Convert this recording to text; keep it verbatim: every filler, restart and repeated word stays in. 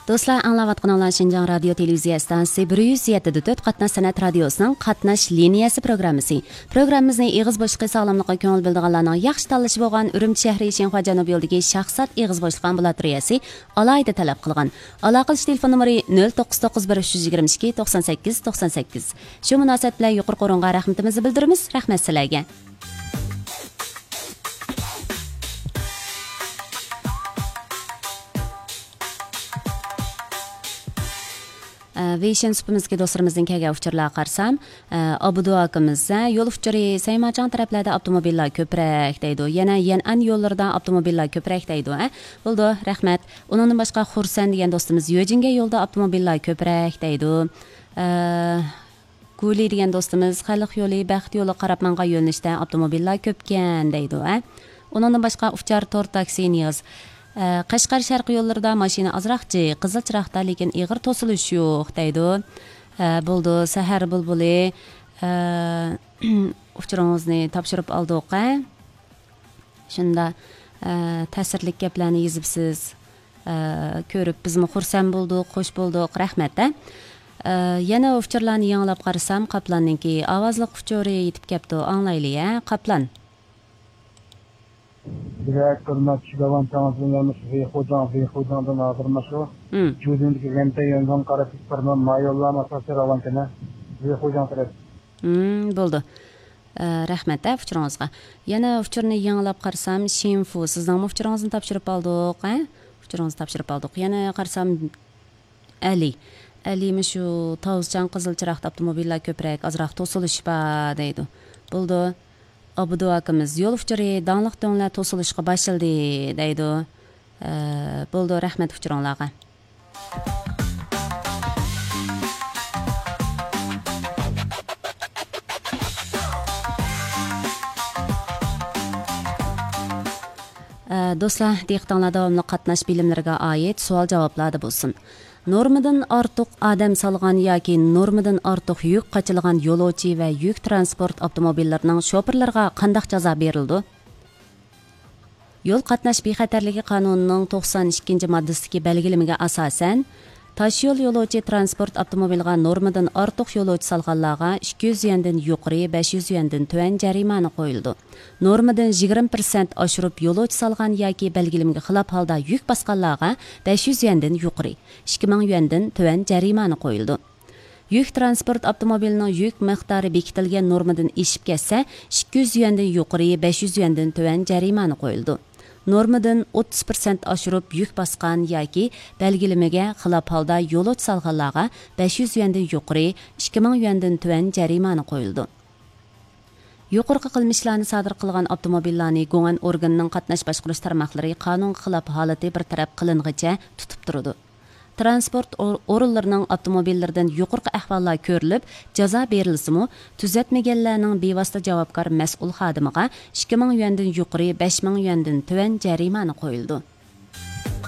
دوستلار، ئاڭلاۋاتقىنىڭلار شىنجاڭ رادىيو تېلېۋىزىيە ئىستانسىسى بىر يۈز يەتتە دە تۆت قاتناش سەنئەت رادىيوسىنىڭ قاتناش لىنىيەسى پروگراممىسى. پروگراممىمىزنى ئېغىز بوشلۇقى ساغلاملىققا كۆڭۈل بۆلىدىغانلارنىڭ ياخشى تاللىشى بولغان ئۈرۈمچى شەھىرى شىنخۇا جەنۇبىي يولىدىكى شاھزات ئېغىز بوشلۇق ئامبۇلاتورىيەسى ئالاھىدە تەلەپ قىلغان. ئالاقىلىشىش تېلېفون نومۇرى نۆل توققۇز توققۇز بىر ئۈچ يۈز يىگىرمە ئىككى توقسان سەككىز توقسان سەككىز. شۇ مۇناسىۋەت بىلەن يۇقىرىقى ئورۇنغا رەھمىتىمىزنى بىلدۈرىمىز. رەھمەت سىلەرگە. ئە، ۋېيشىن سۇپىمىزدىكى دوستلىرىمىزدىن كەلگەن ئۇچۇرلارغا قارىسام، ئە، ئابدۇ ئاكىمىز، ئە، يول ئۇچۇرى سەيماچاڭ تەرەپلەردە ئاپتوموبىللار كۆپرەك دەيدۇ. يەنە يەنئەن يوللىرىدا ئاپتوموبىللار كۆپرەك دەيدۇ. ئە، بولىدۇ، رەھمەت. ئۇنىڭدىن باشقا خۇرسەن دېگەن دوستىمىز يۆجىنگەن يولدا ئاپتوموبىللار كۆپرەك دەيدۇ. ئە، گۇلى دېگەن دوستىمىز، خەلق يولى، بەخت يولىغا قاراپ ماڭغان يۆنىلىشتە ئاپتوموبىللار كۆپكەن دەيدۇ، ھە. ئۇنىڭدىن باشقا ئۇچار تور تاكسى نىياز، ئە، قەشقەر شەرقىي يوللىرىدا ماشىنا ئازراق جىق، قىزىل چىراغدا، لېكىن ئېغىر توسۇلۇش يوق دەيدۇ. ئە، بولدى، سەھەر بۇلبۇلى، ئە، ئۇچۇرىڭىزنى تاپشۇرۇپ ئالدۇق، ھە. شۇنداق، ئە، تەسىرلىك گەپلەرنى يېزىپسىز. ئە، كۆرۈپ بىزمۇ خۇرسەن بولدۇق، خوش بولدۇق، رەھمەت، ئە. ئە، يەنە ئۇچۇرلارنى يېڭىلاپ قارىسام، قاپلاننىڭكى ئاۋازلىق ئۇچۇرى يېتىپ كەپتۇ، ئاڭلايلى، ھە، قاپلان. بىرەر كۆرمەس چىداۋان تەڭزىلەرمىش ۋېيخۇجاڭ، ۋېيخۇجاڭدىن ھازىرمۇ شۇ. مم. جۇدىندىكى رېنتەي يۆنزاڭ قاراشلىق بىر ما-، مايوللارمۇ ئاساسىي راۋانكەنە ۋېيخۇجاڭ تەرەپ. مم، بولدى. ئە، رەھمەت، ئە، ئۇچۇرىڭىزغا. يەنە ئۇچۇرنى يېڭىلاپ قارىسام، شىنفۇ، سىزنىڭمۇ ئۇچۇرىڭىزنى تاپشۇرۇپ ئالدۇق، ئە؟ ئۇچۇرىڭىزنى تاپشۇرۇپ ئالدۇق. يەنە قارىسام، ئەلى. ئەلى، مۇشۇ تاۋۇزچان قىزىل چىراغدا ئاپتوموبىللار كۆپرەك، ئازراق توسۇلۇش بار دەيدۇ. بولدى. ئابدۇ ئاكىمىز، يول ئۇچۇرى داڭلىق دۆڭلەر توسۇلۇشقا باشلىدى دەيدۇ. ئە، بولدى، رەھمەت ئۇچۇرۇڭلارغا. ئە، دوستلار، دىققىتىڭلار داۋاملىق قاتناش بىلىملىرىگە ئائىت سوئال جاۋابلاردا بولسۇن. نورمىدىن ئارتۇق ئادەم سالغان ياكى نورمىدىن ئارتۇق يۈك قاچىلىغان يولۇچى ۋە يۈك تىرانسپورت ئاپتوموبىللىرىنىڭ شوپۇرلىرىغا قانداق جازا بېرىلىدۇ؟ يول قاتناش بىخەتەرلىكى قانۇنىنىڭ توقسان ئىككىنچى ماددىسىدىكى بەلگىلىمىگە ئاساسەن، تاشيول يولۇچى تىرانسپورت ئاپتوموبىلىغا نورمىدىن ئارتۇق يولۇچى سالغانلارغا ئىككى يۈز يۈەندىن يۇقىرى، بەش يۈز يۈەندىن تۆۋەن جەرىمانە قويۇلىدۇ. نورمىدىن يىگىرمە پىرسەنت ئاشۇرۇپ يولۇچى سالغان ياكى بەلگىلىمىگە خىلاپ ھالدا يۈك باسقانلارغا بەش يۈز يۈەندىن يۇقىرى، ئىككى مىڭ يۈەندىن تۆۋەن جەرىمانە قويۇلىدۇ. يۈك تىرانسپورت ئاپتوموبىلىنىڭ يۈك مىقدارى بېكىتىلگەن نورمىدىن ئېشىپ كەتسە، ئىككى يۈز يۈەندىن يۇقىرى، بەش يۈز يۈەندىن تۆۋەن جەرىمانە قويۇلىدۇ. نورمىدىن ئوتتۇز پىرسەنت ئاشۇرۇپ يۈك باسقان ياكى بەلگىلىمىگە خىلاپ ھالدا يولۇچى سالغانلارغا بەش يۈز يۈەندىن يۇقىرى، ئىككى مىڭ يۈەندىن تۆۋەن جەرىمانە قويۇلىدۇ. يۇقىرىقى قىلمىشلارنى سادىر قىلغان ئاپتوموبىللارنى گۇڭئەن ئورگىنىنىڭ قاتناش باشقۇرۇش تارماقلىرى قانۇنغا خىلاپ ھالىتى بىر تەرەپ قىلىنغىچە تۇتۇپ تۇرىدۇ. تىرانسپورت ئور-، ئورۇنلىرىنىڭ ئاپتوموبىللىرىدىن يۇقىرىقى ئەھۋاللار كۆرۈلۈپ، جازا بېرىلسىمۇ، تۈزەتمىگەنلەرنىڭ بىۋاسىتە جاۋابكار مەسئۇل خادىمىغا ئىككى مىڭ يۈەندىن يۇقىرى، بەش مىڭ يۈەندىن تۆۋەن جەرىمانە قويۇلىدۇ.